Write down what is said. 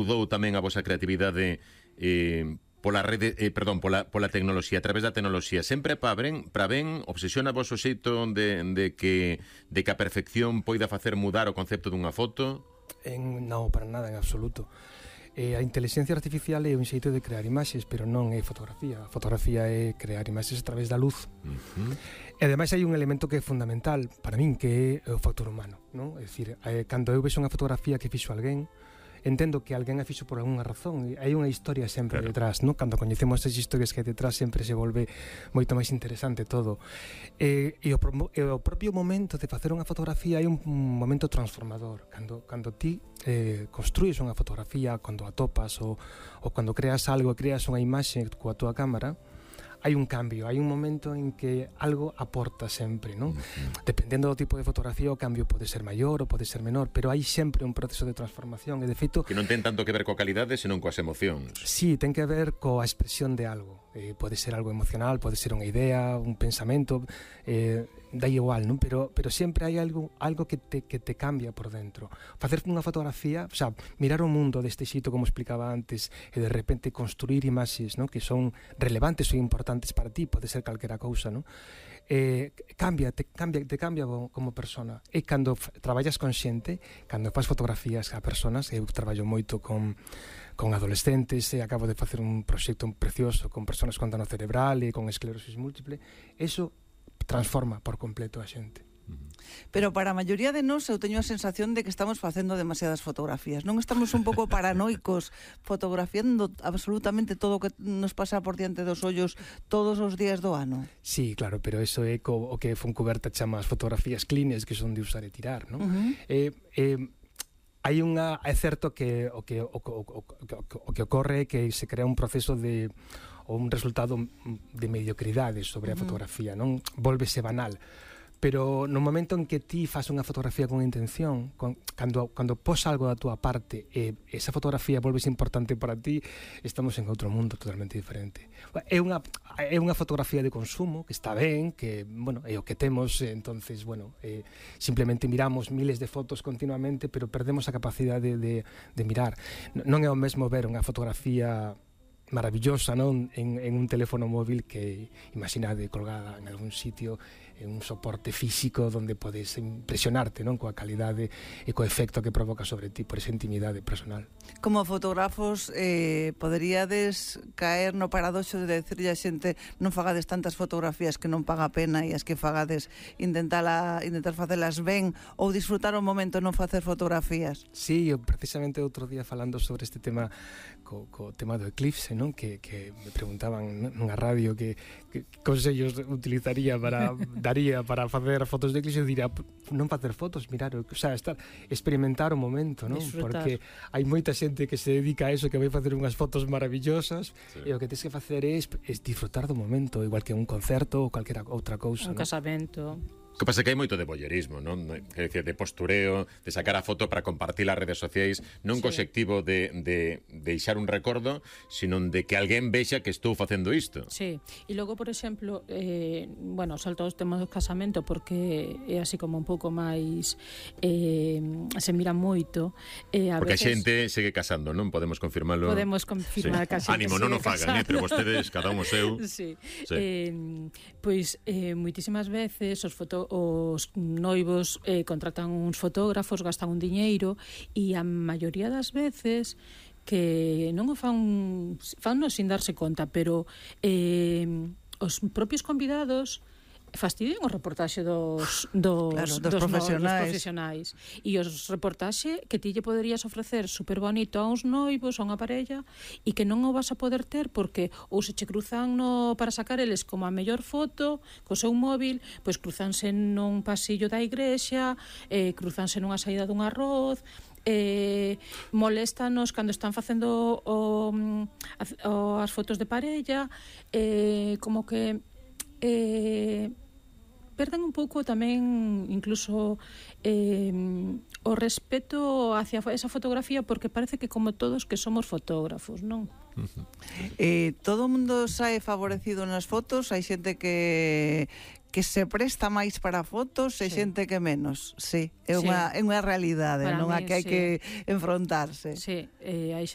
mudou tamén a vosa creatividade pola rede, pola tecnoloxía, a través da tecnoloxía, sempre para ben, obsesiona vos o xeito de que a perfección poida facer mudar o concepto dunha foto? Non, para nada, en absoluto. A inteligencia artificial é un xeito de crear imaxes, pero non é fotografía. A fotografía é crear imaxes a través da luz. E ademais hai un elemento que é fundamental para min, que é o factor humano, non? É dicir, cando eu vexo unha fotografía que fixo alguén, entendo que alguén a fixo por algunha razón, hai unha historia sempre detrás, non? Cando coñecemos as historias que hai detrás sempre se volve moito máis interesante todo. E o propio momento de facer unha fotografía é un momento transformador. Cando ti construís unha fotografía, cando a topas ou cando creas algo, creas unha imaxe coa túa cámara, hai un cambio, hai un momento en que algo aporta sempre, non? Dependendo do tipo de fotografía, o cambio pode ser maior ou pode ser menor, pero hai sempre un proceso de transformación, e de feito... Que non ten tanto que ver coa calidade, senón coas emocións. Sí, ten que ver coa expresión de algo. Pode ser algo emocional, pode ser unha idea, un pensamento, dá igual, non? Pero sempre hai algo que te cambia por dentro. Facer unha fotografía, o sea, mirar o mundo deste xito, como explicaba antes, e de repente construir imaxes, non? Que son relevantes ou importantes para ti, pode ser calquera cousa, non? Te cambia como persona. E cando traballas con xente, cando fas fotografías a personas, eu traballo moito con adolescentes, e acabo de facer un proxecto precioso con persoas con dano cerebral e con esclerosis múltiple, eso transforma por completo a xente. Pero para a maioría de nós eu teño a sensación de que estamos facendo demasiadas fotografías. Non estamos un pouco paranoicos fotografiando absolutamente todo o que nos pasa por diante dos ollos todos os días do ano? Sí, claro, pero eso é o que Foncuberta chama as fotografías cleanes, que son de usar e tirar, non? Hai unha... É certo que o que ocorre é que se crea un proceso de... ou un resultado de mediocridade sobre a fotografía, non? Volvese banal. Pero no momento en que ti fas unha fotografía con intención, cando pos algo da túa parte e esa fotografía volves importante para ti, estamos en outro mundo totalmente diferente. É unha fotografía de consumo que está ben, que, bueno, é o que temos, entonces, bueno, simplemente miramos miles de fotos continuamente, pero perdemos a capacidade de mirar. Non é o mesmo ver unha fotografía maravillosa, non? En un teléfono móvil que, imaginade, colgada en algún sitio, en un soporte físico onde podes impresionarte, non? Coa calidade e co efecto que provoca sobre ti por esa intimidade personal. Como fotógrafos, poderíades caer no paradoxo de decirlle a xente non fagades tantas fotografías que non paga a pena, e as que fagades intentar facelas ben, ou disfrutar o momento non facer fotografías? Sí, eu precisamente outro día falando sobre este tema co tema do eclipse, non? Que me preguntaban nunha radio que consellos utilizaría daría para facer fotos de eclipse. Eu diría, non facer fotos, mirar, o sea, experimentar o momento, non? Disfrutar. Porque hai moita xente que se dedica a eso, que vai facer unhas fotos maravillosas, e o que tens que facer é disfrutar do momento, igual que un concerto ou calquera outra cousa, un casamento. Que pasa que hai moito de voyerismo, non? De postureo, de sacar a foto para compartir as redes sociais, non co obxectivo de deixar un recordo, sino de que alguén vexa que estou facendo isto. Sí, e logo, por exemplo, bueno, salto aos temas do casamento porque é así como un pouco máis se mira moito, porque veces... a xente segue casando, non? Podemos confirmarlo. Podemos confirmar que a xente ánimo, non o fagan, pero vostedes, cada un o seu. Sí. Pois moitísimas veces os noivos contratan uns fotógrafos, gastan un diñeiro, e a maioría das veces que non o fanno sin darse conta, pero os propios convidados fastidian o reportaxe dos profesionais, e os reportaxe que ti lle poderías ofrecer super bonito a uns noivos, a unha parella, e que non o vas a poder ter porque ou se che cruzan para sacar eles como a mellor foto co seu móvil, pois cruzanse nun pasillo da igrexa, cruzanse nunha saída dun arroz, moléstanos cando están facendo as fotos de parella, como que perden un pouco tamén incluso o respeto hacia esa fotografía, porque parece que como todos que somos fotógrafos, non? Todo o mundo sae favorecido nas fotos, hai xente que que se presta máis para fotos e xente que menos. Sí, é unha realidade, Para non a min, que hai sí. que enfrontarse. Sí, hai